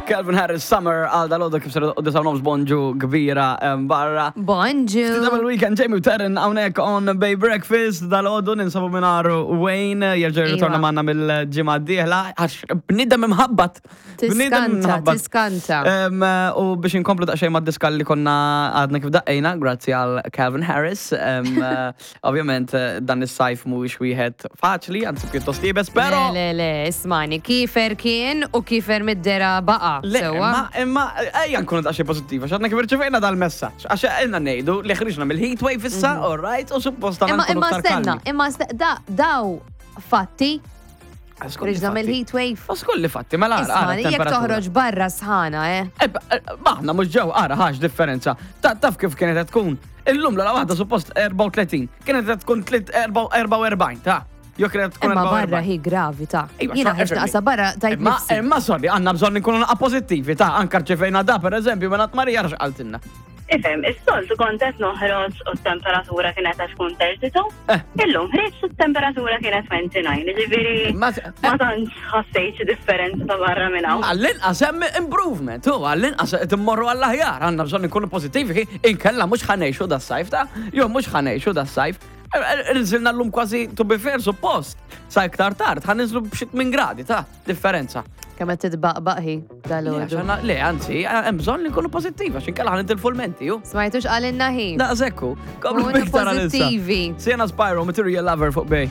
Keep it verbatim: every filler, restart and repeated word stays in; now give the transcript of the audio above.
Calvin Harris, Summer, għal dal-għodu kif ser u disa nofs, bonġu kbira em, barra. Bonġu. Double weekend, Jamie u Terren hawnhekk on Bay Breakfast, dal-għodu ninsabu mingħajr Wayne, jerġa' jirritorna Iva. magħna mill-ġimgħa d-dieħla, għax bniedem imħabbat. Bniedem Tiskanta, imħabbat. Tiskanta. Em, U biex inkomplu daqsxejn mad-diska li konna għadna kif daqqejna, grazzi għal Calvin Harris. Em, eh, Ovvjament eh, dan is-sajf mhuwiex wieħed faċli, anzi pjuttost iebes, però Le, le, le, ismani, kifer kien u kifer mid-dera baqa. Le, Sewwa? imma, imma, ejja nkunu daqsxejn pożittiva, għadna kif irċevejna dal-messaġġ. Għax ilna ngħidu li ħriġna mill-heat wave issa, all right, u suppost għandna Mhm. Imma nkunu imma aktar stenna, kalmi. imma stenna, da, daw fatti, Għax kulli ħriġna fatti. mill-heat wave. Għax kulli fatti, mela ara, ara Ismani, jekk t-temperatura. toħroġ barra sħana, eh. Eh, eh, Maħna mhux ġew, ara ħax differenza. Ta- Taf kif kienet qed tkun? Illum l waħda suppost erbgħa u tletin, kienet qed tkun tliet- erbgħa u erbgħa u erbgħin, ta' Jo kienet tkun Imma barra erbgħa u erbgħin. hi gravi ta' Iva, Jiena xa- ħriġt naqsa barra tajt Imma, nifsi. imma sorry, għandna bżonn nkunu naqra pożittivi, ta' anka rċevejna da, per eżempju, minn Marija għax qaltilna. Ifhem, is-soltu kont qed noħroġ u t-temperatura kienet qed tkun tletin u tnejn. Eh. Illum ħriġt u t-temperatura kienet disgħa u għoxrin, ġifieri Ma- ma tantx ħassejt xi differenza ta' barra minn hawn. Għall-inqas hemm improvement, u għall-inqas qed immorru għall-aħjar, għandna bżonn nkunu pożittivi, inkella mhux ħa ngħixu das-sajf ta' jew mhux ħa ngħixu das-sajf. Nżilna llum kważi, to be fair, suppost. Sa iktar tard, ħa ninżlu b'xi tmien gradi ta' differenza. Kemm qed titbaqbaq hi Le, dal-għodu. għax għandna- Le, anzi, hemm bżonn li nkunu pożittivi, għax inkella ħa nitilfu l-menti, ju. Smajtux qalilna hi. Daqshekk. Komplu Kunu biktar għalissa. pożittivi. Sienna, Spyro, Material Lover fuq Bay.